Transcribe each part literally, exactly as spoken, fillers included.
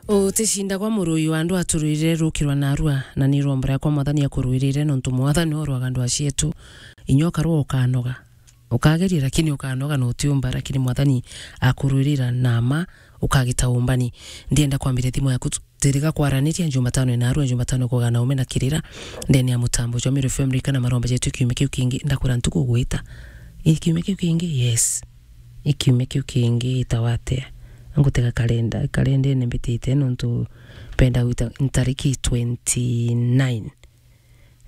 Uticindagwa murui wa andu aturwirire rukirwa narua, na ni iromba riakwa Mwathani akurwirire, nontu Mwathani orwaga ndwa cietu. Inya ukarua ukanoga. Ukageria, lakini ukanoga na utiumba, lakini Mwathani akurwirira na ma ukagita umbani. Ndienda kwambiria thimu yaku tu-, tiriga kwaraniria Jumatano inarua, Jumatano kuga na ume na kirira. Ndene ya mutambo jwa Meru F M rika na maromba jetu kiumia kiu kingi, ndakwira ntuku gwita. Ii kiumia kiu kingi? Yes. Ii kiumia kiu kingi itawa atia? Ngutega kalenda, kalendene mbitite nontu mpenda gwita ntariki twenty nine.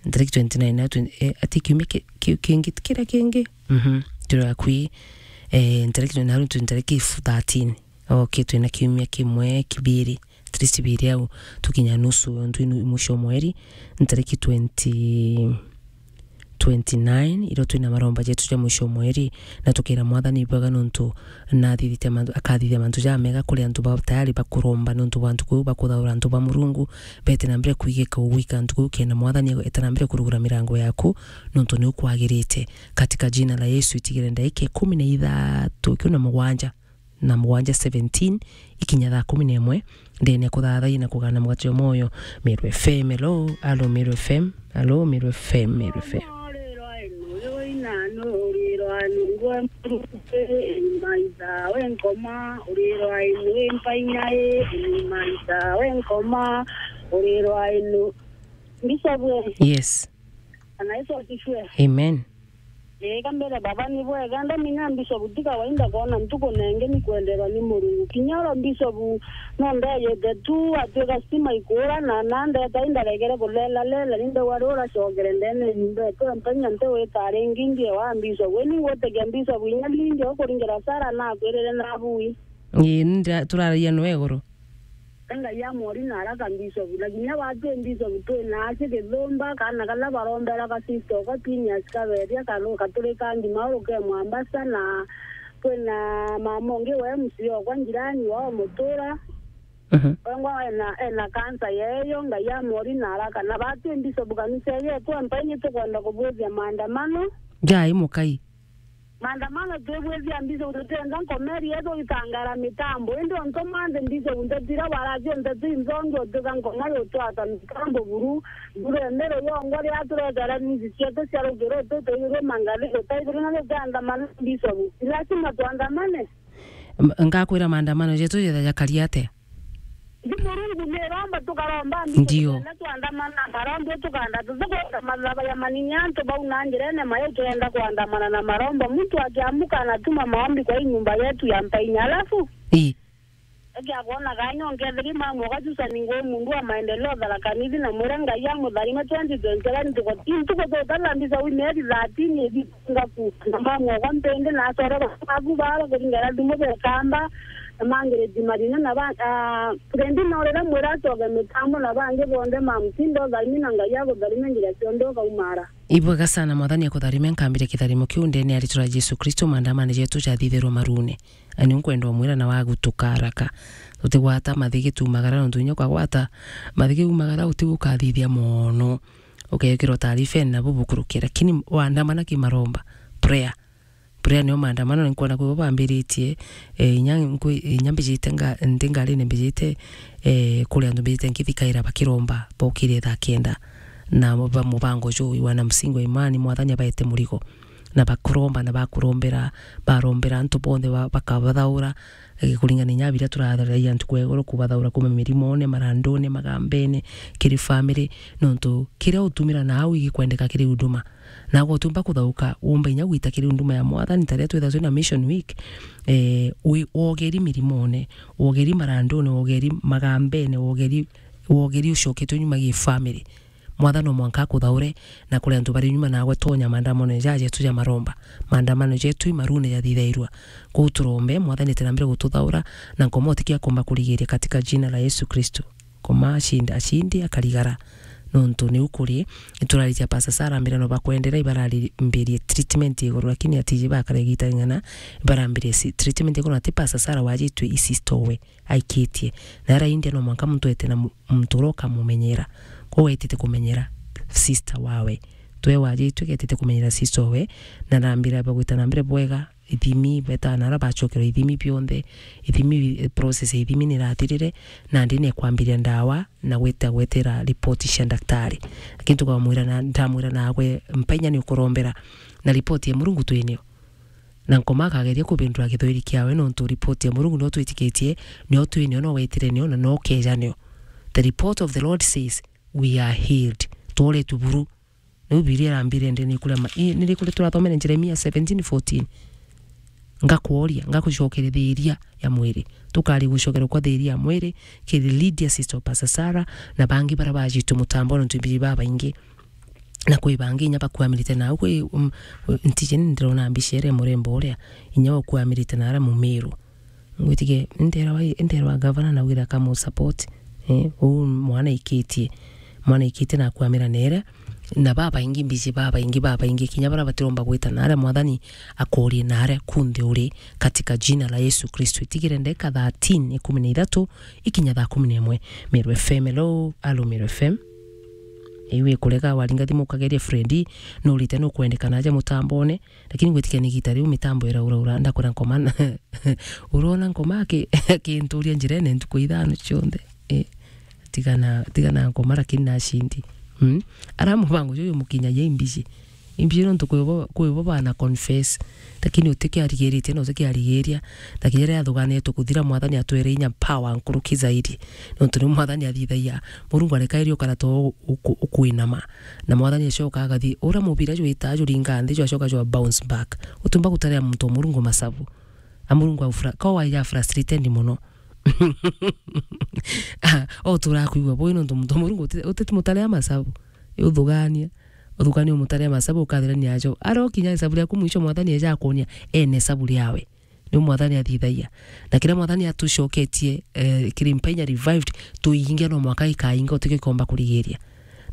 Ntariki twenty nine na twenty, eh, ati kiumia ki-, ki-, kingi, kiria kingi? Mhm. Turi akui, eh, ntariki twenty nine, twi ntariki thirteen. Okay, twina kiumia kimwe, kibiri, at least biri au, tukinya nusu, ntwi nu-, mwisho mweri, ntariki twenty, twenty nine, irio twina maromba jetu ja mwisho mweri, na tukira Mwathani bwega nontu nathithite mantu, akathithia mantu jamega kuri antu ba tayari bakuromba nontu bwa ntuku iu, bakuthaura antu ba Murungu, bete na mbere kwigika ugwika ntuku iu, kenda Mwathani eta na mbere kurugura mirango yaku, nontu ni ukwagirite. Katika jina la Yesu, itigire ndaika ikumi na ithatu, ikumi na mugwanja, na mugwanja, seventeen, ikinya thaa kumi na imwe, ndene kuthathai na kugana mugate jwa moyo. Meru F M, hello, hello, Meru F M, hello, Meru F M, Meru F M. Urirwa inu, uyu ina nu, urirwa inu, ngwe murungu, ii, maitha, we nkoma, urirwa inu, ii, mpainya, ii, ii, maitha, we nkoma, urirwa inu. Bishop we. Yes. Bwana Yesu asifiwe. Amen. Ii, ka mbere baba ni bwega, ndamenya Bishop ti kawaida kwona ntuku nengi ni kwenderwa ni Murungu. Kinya oro Bishop no ndeyete tu, atwika stima ikuura na, na ndeta indaregere kulela lela, ni ndauga riu uracokere ndene nyumba etu, mpenya nti wita ringi ndie wa Bishop. Wi ni ngwitikia Bishop inya lingi ukuringira Sara na akwirire na bui. Ii, nda-, turaragia nwe iguru. Ngai amwori na araka Bishop, na kinya batwi Bishop twina aci Githumba, kana kala barombera ka sister okwa Phineas Kaberia, karu-, katuri ka ngima uruke Mwambasa, na twina mama ungi wa M C okwa njirani wao Mutura. Mhm. Wengwa ena, ena kansa yeyo, Ngai amwori na araka. Na batwi Bishop kanisa yetu, mpeni tukwenda kubwithia maandamano. Jai mukai. Maandamano twibwithia Bishop, tutienda nkomeri yetu itangara mitambo. Indi ontu manthe Bishop, nteto iria baracio nteto inthongi, utika nkoma yutwata mitambo buru. Buru embere yongwa riria turetera news cietu cia rukiro, tutuirwe mangathi gutaithirwe na tukiandamana Bishop. Lazima tuandamane. M-, ngakwira maandamano jetu jetha jakari atia? Ndi Murungu ni romba tukaromba, ndio. Tukaenda tuandamana na maromba, tukaenda tukwenda mathaba ya maninya antu bau na njirene mayo tuenda kuandamana na maromba. Muntu akiamuka anatuma maombi kwa hii nyumba yetu ya mpainya. Alafu, ii, akiakwona kanya onkethiri mamu ugacusa ni nguu mundu wa maendeleo Tharaka Nithi na mwire Ngai amutharime twenty twenty-seven tuko, ntuku tutatha mbisa wi mieri thirteen ithi ngaku na mamu okwa mpindi na acora baku bara kuringana thimu bekamba na mangiriti marina na ba, ah, rendi norira mwira acoke mitambo na bangi bonthe mamutindo thaini na Ngai agutharime njira cionthe ukaumara. Ibwega sana, Mwathani akutharime, nkambire kitharimo kiu ndene ya ritwa ria Jesu Kristo, maandamano jetu jathithirwe marune. Ani nkwenda umwira na wagutuka haraka. Tutigwata mathigi tumagara nontu inya ukagwata mathigi umagara utigukathithia mono. Ukekirwa taarifa na bubukurukia, lakini waandamana kimaromba, prayer. Prayer nio maandamano, na nkwona kwi bambiritie, eh, inya nkwi-, inya mbijite nga-, ndi ngarine mbijite, eh, kuri antu mbijite nkithikaira bakiromba, bokire thaa kenda. Na ba mubango juu, wana msingi wa imani, Mwathani abaete murigo. Na bakuromba, na bakurombera, barombera antu bonthe ba-, bakabathaura, eh, kuringana inya biria turatharagia ntuku ya iguru, kubathaura kuma mirimone, marandone, magambene, kiri family, nontu kiria utumira na au igikwendeka kiri huduma. Na gutiumba kuthauka, umba inya gwita kiri unduma ya Mwathani, ta riria twithagwa twina Mission Week, eh, wi-, wogeri mirimone, wogeri marandune, wogeri magambene, wogeri, wogeri ucoketwe nyuma gi family. Mwathani no mwanka akuthaure, na kuri antu bari nyuma nagwe tonya maandamano jajetu ja maromba. Maandamano jetu i marune jathithairua. Kou turombe, Mwathani ete na mbere gututhaura, na nkomo utikia komba kurigiria katika jina la Yesu Kristo. Koma acindi, acindi akarigara. Nontu niu kuri, ituraritia Pastor Sarah, mbira no bakwendera, ibarari-, mbirie treatment iguru, lakini atiji bakara igita ring'ana, ibarambirie si-, treatment iguru, ati Pastor Sarah wajitwe i sister we aikitie. Na ara India no mwanka muntu ete na mu-, muntu uria ukamumenyera. Kou wetite kumenyera sister wawe. Twe wajitwe ketite kumenyera sister we, na nambira bagwita na mbere bwega, ithimi, betaa na aria bacokerwa ithimi bionthe, ithimi, process ya ithimi ni irathirire, nandi ni ekwambiria ndawa na gwita gwetera ripoti cia ndaktari. Lakini tukamwira na, ndamwira, nagwe mpainya ni ukurombera, na ripoti ya Murungu twinio. Na Nkoma akageria kubindura githweri kiawe, nontu ripoti ya Murungu nio twitikitie, nio twinio, no wetire nio, na no ukeja nio. The report of the Lord says, "We are healed." Tworetwe buru. Niu Bibilia irambire ndi ni kuria ma-, i-, ni ri kuria turathomere Jeremia seventeen fourteen. Ngakworia, ngagucokeria thiria ya mwiri. Tukari gucokerwa kwa thiria ya mwiri, kiri Lydia, sister wa Pastor Sarah, na bangi baria bajitwe mutambone, nontu mbiji babaingi. Na kwi bangi inya bakuamirite nau, kwi, um, ntiji ni ndirona mbica iria murembo uria inya ukuamirite na aria Mumiru. Ngwitikia, nderwa, nderwa gavana na wira kamu support. Eh, uu mwana ikitie. Mwana ikitie na akwamira nere. Na babaingi mbiji, babaingi, babaingi, kinya baria batiromba gwita naria, Mwathani akorie naria kunthe uri, katika jina la Yesu Kristo. Itigire ndeka thirteen, ikumi na ithatu, ikinya thaa kumi na imwe. Meru F M, hello, alo Meru F M. Iwe kurega waringa thimu ukageria Freddy, nurite nukwendekana aja mutambone, lakini gwitikia ni gita riu mitambo irauraura, ndakwira Nkoma na, urona Nkoma aki-, akinturia njirene ntuku ithano cionthe. Eh, tigana, tigana Nkoma lakini nacindi. Mm? Ara mubango juju mukinyagia imbiji. Imbiji nontu kwi bo, kwi bo bana confess. Lakini utikiarigiritie na utikiarigiria. Na kinya riria athuganitwe kuthira, Mwathani atwere inya power nkuruki zaidi. Nontu ni Mwathani athithagia. Murungu areka irio kana to uku-, ukwinama. Na Mwathani acoka agathi, uria mubira jwita juringa nthi, jwacoka jwa bounce back. Utumba gutaria muntu wa Murungu masabu. A Murungu au fra-, ko waija frustrated muno. Ah, o turakwigua bui nontu muntu wa Murungu uti-, uti-, mutaria masabu. Uthugania. Uthugania umutaria masabu ukathirania ajo. Aro kinya isabu riaku mwisho Mwathani eja akuonia, ene isabu riawe. Niu Mwathani athithagia. Na kiria Mwathani atucoketie, eh, kiri mpainya revived, tuinge no mwaka ikainga utike komba kurigiria.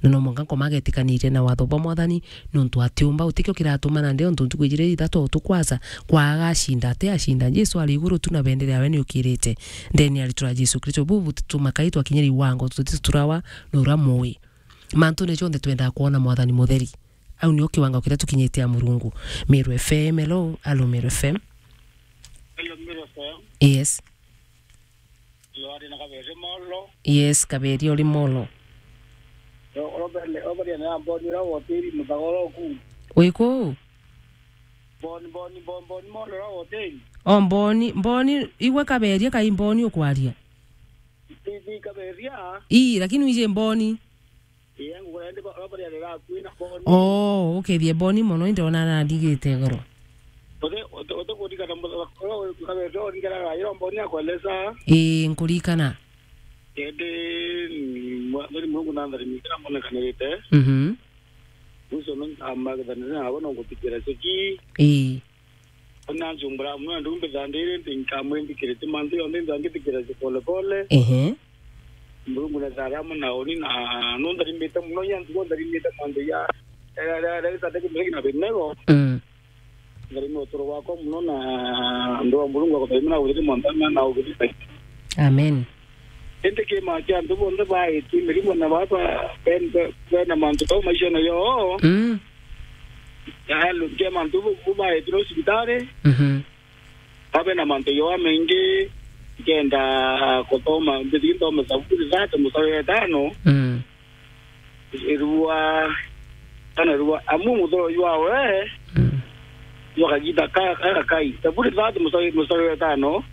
Na no mwanka Nkoma agetikanirie na watho bwa Mwathani, nontu atiumba utikio kiratuma nandi ontu ntuku ijiri ithatu tukwasa kwaga acinda, ati acinda. Jesu ari iguru tu na bendera yawe niukirite. Ndeni aritura Jesu Kristo. Bubu tutuma kai twakinyiri iwango, tutiturawa na uria mui. Mantune jonthe twendaa kwona Mwathani mutheri. Au nio kiwango kiria tukinyite a Murungu. Meru F M, hello, alo Meru F M. Hello, Meru F M. Yes. Yo, ari na Kaberi Molo. Yes, Kaberi uri Molo. Yo, Robert, Robert na Mboni ura hoteli mutagoro ku. Wi ku? Mboni, Mboni, Mboni, Mboni Molo ura hoteli. O Mboni, Mboni, igwe Kaberi kai Mboni ukwaria. Ti, ti Kaberi a. Ii, lakini wije Mboni. Ii, ngugura ndi ba, ba, bari ari gaku ina Mboni. Oh, ukethie Mboni mono, indi ona na ndigite goro. Ote, ote, ote kurikana mu-, ura, ura, ura, ura, ura, ura, Mboni akweleza. Ii, nkurikana. Indi, mm, mwa-, mweri Murungu na nthari mingi na mbonekanirite. Mhm. Ucio no nkamakithanire nabo no nguthikira ciki. Ii. Ona njumbura amwe andu mbithandire ndi nkamwindikirite mantu yonthe nthangithikira ci pole pole. Ehe. Murungu na thara amwe na uni na no ntharimite muno ya ntugo ntharimite mantu ya, ya, ya, ya, ya, gitande kimwe kina binego. Mm. Ntharime uturo wakwa muno na ndu wa Murungu akutharime na uthiri mwanthana na uthiri. Amen. Indi kiima kia antu bonthe baitwi mirimo na baba ben-, be-, bena mantu jau maishene yoo. Mm. Yaani, kia mantu bu, bu baitwi no cibitari. Mhm. Babe na mantu yoo maingi, nkenda kuthoma, mbithi nthome Zaburi thate mustari wa itano. Mm. Irua, kana irua, amu muthoro jwawe, mm, jwa kagita ka, ka, kakai. Zaburi thate mustari, mustari wa itano.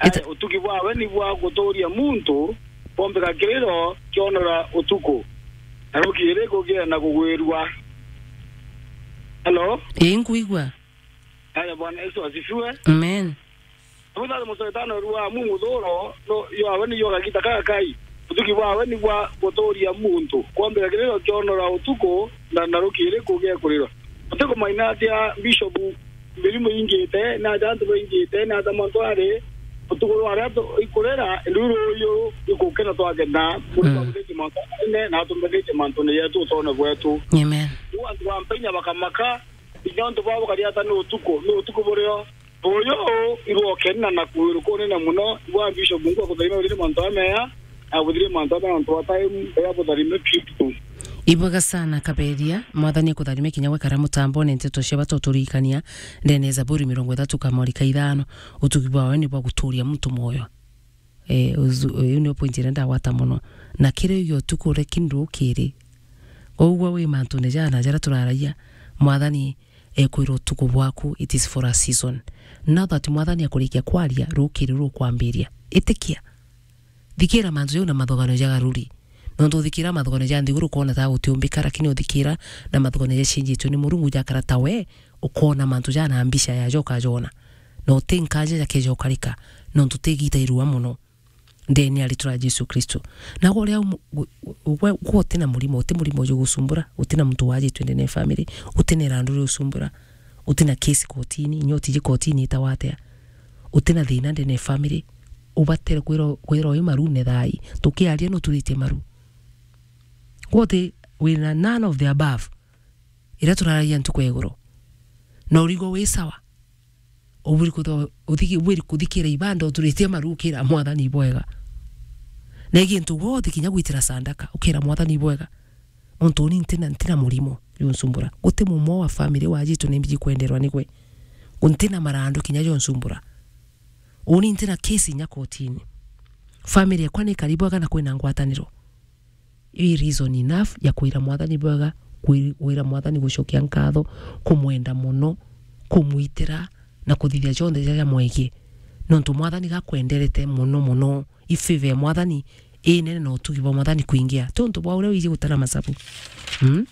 Ita- Aya, utugi bwawe ni bwa guturia muntu, bombika kiriro kionora utuku, na rukiri kugia na kugwirua. Hello? Ii, nkwigua. Aya, Bwana Yesu asifiwe. Amen. Muthathi musoetano rua mu muthuro, no, yo awe ni yo gagita kaka kai. Utugi bwawe ni bwa guturia muntu. Kwombera kiriro kionora utuku, na, na rukiri kugia kuriro. Utikumaina atia Bishop, mirimo ingite, na atia antu baingite, na atia mantu ari, utuku rwa aria tu-, ikurera, indi ruyu ikukena twagena, muri, mm, twamuthite mantu ene, na atumbithite mantu ni yetu utone bwetu. Amen. Riu antu ba mpenya bakamaka, inya untu bwabo kariata ni utuku, ni utuku burio. Uyu irwokena na kuirukunina muno, igwa Bishop Mungu akutharime uthire mantu ameya, na buthire mantu ameya nontu wa time, ya butharime piu. Ibwega sana, Kaberia. Mwathani akutharimia kinya gwekara mutambone. Nteto cia bata uturirikania ndene ya Zaburi mirongo ithatu kamori ka ithano, utugi bwawe ni bwa guturia muntu mwoyo. Eh, uzu-, uyu ni point iria ndagwata mono. Na kiri uyu utuku uria kindu kiri. Koguo wi mantune jana jaria turaragia, Mwathani ekwira utuku bwaku, it is for a season. Now that Mwathani akurikia kwaria, rukiri rukwambiria. Itikia. Thikira mantu jau na mathogano ja garuri. Nontu uthikira mathogano ja nthiguru, ukona ta gutiumbika, lakini uthikira na mathogano jacenjitue ni Murungu, jakara ta we, ukona mantu jana mbica ya joka jona. Na uti nkaja jakeja ukarika, nontu ti gita irua mono. Ndene ya ritwa ria Jesu Kristo. Na gwe uria umu-, gwe, gwe, gwe uti na murimo, uti murimo uju gusumbura, uti na muntu wajitwe ndene ya family, uti na irandu riu usumbura, uti na case kotini, inya utiji kotini itawa atia. Uti na thina ndene ya family, ubatere kwira, kwira uyu maru ne thai. Tukiaria no turitie maru. Gwe uti wina none of the above. Iria turaragia ntuku ya iguru. Na urigwe wi sawa. Uburi kutho-, uthiki-, uburi kuthikira ibanda uturitie maru ukira Mwathani ibwega. Na gintu gwe uthi kinya gwitira sandaka, ukira Mwathani ibwega. Ontu uni ntina, ntina murimo, yunsumbura. Guti mumwe wa family wajitwe ni mbiji kwenderwa nigwe. Ntina marandu kinya yunsumbura. Uni ntina case inya kotini. Family yakwa ni karibu aga na kwina ngwataniro. Ii reason enough ya kwira Mwathani bwega, kwi-, kwira Mwathani gucokia nkatho, kumwenda mono, kumwitira, na kuthithia jonthe jaria mwegie. Nontu Mwathani gakwenderete mono mono, i favor ya Mwathani inene na utugi bwa Mwathani kwingia. Ti untu bwa uria wiji gutara masabu. Mm?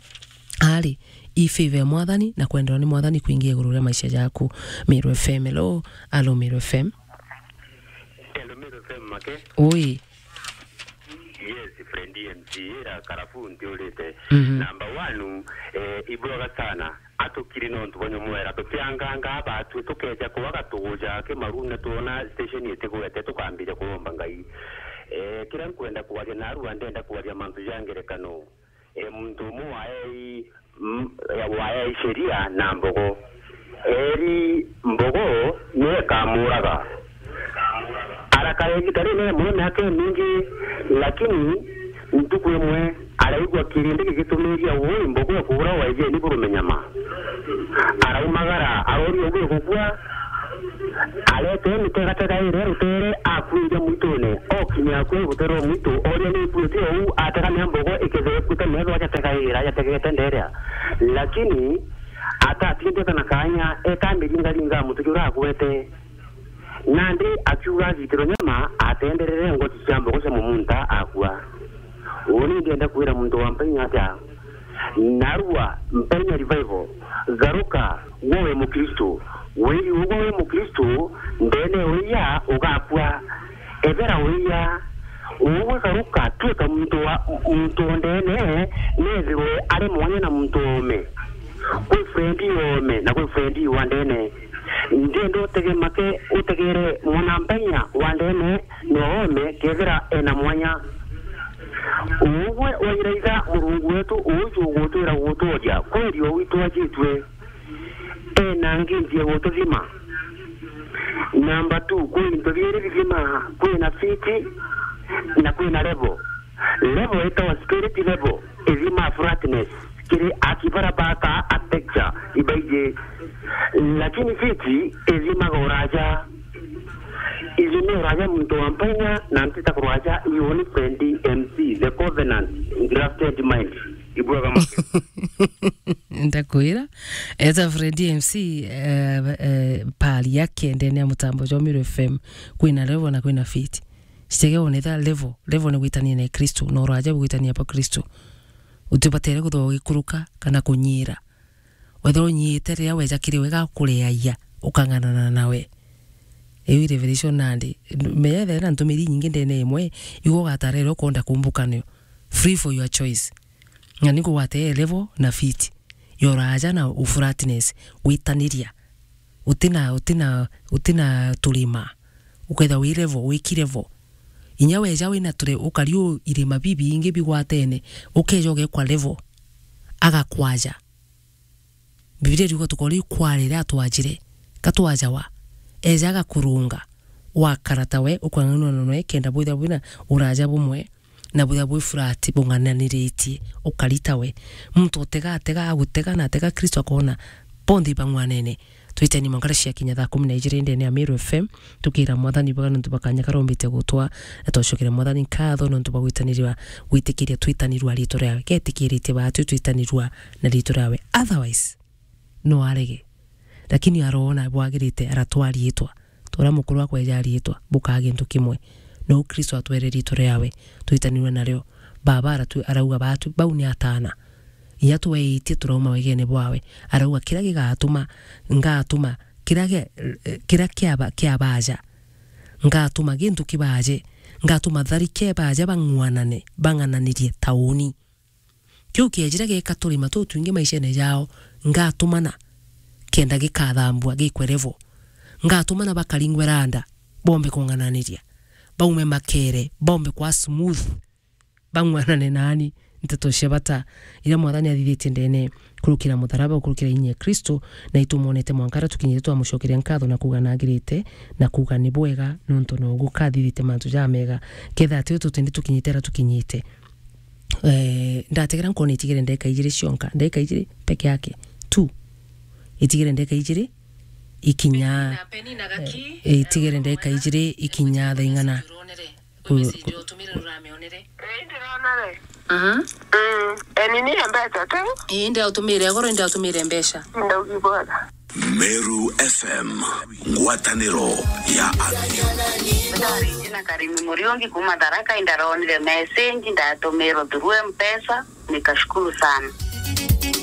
Ari, i favor ya Mwathani na kwenderwa ni Mwathani kwingia iguru ria maisha jaku. Meru F M, hello. Alo, Meru F M. Hello, Meru F M, Make. Oi. Yes, friend M C, ira karabu ntiurite. Mhm. Number one, eh, ibwega sana. Atukiri nontu bwa nyomwera, tutianganga abatwi, tukeja kwaga tuguja kimarune, twona station itigwete, tukambiria kuromba Ngai. Eh, kiria nkwenda kwaria narua, ndenda kwaria mantu ja ngerekano. Eh, muntu umwe waei, mm, waei sheria na mbogo. Eri mbogo niwe ikamuraga. Arakara igita rinene mono, miaka imingi, lakini ntuku imwe araigua kirindi gigitumiria ui mbogo ekugura waijeni burume nyama. Araumagara, aroria uguo gukua, arete mitega tega iria rutere, akuiria mwitune. Okinya akua rutere rwa mwitu, oria ni ikuite ou, atega mia mbogo ikethira ikuite, methwa ajategaira, ajategete nderia. Lakini atatindite na kanya, eta miringaringa mutu juria agwete. Nandi akiuga agitirwe nyama, atenderere ngoti cia mbogo cia mumunta, akua. Uni ndienda kwira muntu wa Mpainya atia? Narua, Mpainya Revival, garuka, gwe wi Mukristo. Wiri ugwe wi Mukristo, ndene uria ugakua. Ethera uria, ugwe garuka, tuika muntu wa, muntu o ndene, nethirwe ari mwanya na muntu ome. Kwi friend ome, na kwi friend wa ndene. Ndienda utege make, utegere mwana Mpainya wa ndene, no ome, kethira ena mwanya. Ugwe wairaitha Murungu wetu, uju ugutwira guturia, kweri o witu ajitue. Ena nginji ya gututhima. Number two, kwi into biiri bithima, kwina feet na kwina level. Level itawa spirit level, ithima flatness. Kiri aki bara baka architecture ibaiji, lakini feet ithimaga uraja. Ithima uraja muntu wa Mpainya, na ntita kuraja, iuni friend M C, the covenant, grafted mind. Ibwega Make. Ndakwira, eta friend M C, eh, eh, pali yake ndene ya mutambo jwa Meru F M, kwina level na kwina feet. Citege one tha level, level ni gwitania na Kristo, na uraja bwitania bwa Kristo. Utibatere guthwa ugikuruka kana kunyira. Wethirwa unyiite riria weja kiri we gakureaia, ukang'anana nawe. Iu i revelation nandi. Menya ethira na ntumiri inyingi ndene imwe, igo ugatara iria ukwenda kumbuka nayo. Free for your choice. Na ni kugwata i level na feet. Yoraja na uflatness, gwitaniria. Utina, utina, utina turima. Ukethira wi level, wiki level. Inya weja wina ture-, ukari u irima bibingi bigwatene, ukeja ugekwa level. Agakwaja. Bibilia iriuga tukori kwarire atwajire, katwajawa, eja agakurunga, wakara tawe, ukwang'anua noe, kenda bwithirwa bwina uraja bumwe, na buria bwi flat bung'ananiritie, ukari tawe. Muntu utega, atega, agutega na atega Kristo akoona bonthe ibang'wanene. Twiteni mwanka cia kinya thaa kumi na ijiri ndene ya Meru F M, tukira Mwathani bwega nontu bwa kanya karombite gutwa, na twacokera Mwathani nkatho nontu bwa gwitanirwa, gwitikiria twitanirwa riitwa riawe. Getikiritie baatu twitanirwa na riitwa riawe. Otherwise, no arege. Lakini aroona bwagirite, aratwa riitwa. Tora mukuru akweja riitwa, bukaa gintu kimwe. No Kristo atwere riitwa riawe, twitanirwe nario. Baba aratu-, arauga baatu, bau ni ataana. Inya tweetie turauma wegene bwawe. Arauga, "Kiria gigatuma, ngatuma, kiria gia, kiria kiaba-, kiabaja. Ngatuma gintu kibaje, ngatuma tharike ibaje bang'wanane, bang'ananirie tauni." Kiu kiejire gika turima tutwingi maishene jao, ngatumana kenda gikathambua gikwe level. Ngatumana bakaringwe randa, bombe kung'ananiria. Baume makere, bombe kwa smooth. Bang'wanane naani, nteto cia bata iria Mwathani athithitie ndene kurukira mutharaba, kurukira inya ya Kristo, na itumwonete mwanka aria tukinyite twamucokeria nkatho na kuuga nagirite, na kuuga ni bwega, nontu no gukathithite mantu jamega. Ketha ati tutindi tukinyite aria tukinyite. Eh, ndategera nkona itigere ndeka ijiri cionka, ndeka ijiri peke yake. Tu. Itigere ndeka ijiri ikinya, eh, itigere ndeka ijiri ikinya thaa ing'ana. Ku-, ku- Ii, ndironere. Mhm. Mm. Eni ni mbeca tu. Ii, ndi autumire agoro, ndi autumire mbeca. Ndaugi bwega. Meru F M, ngwataniro ya Athi. Ndari na Karimi Muriungi kuma Tharaka, indaronire message, ndatumirwo through M-Pesa, nikashukuru sana.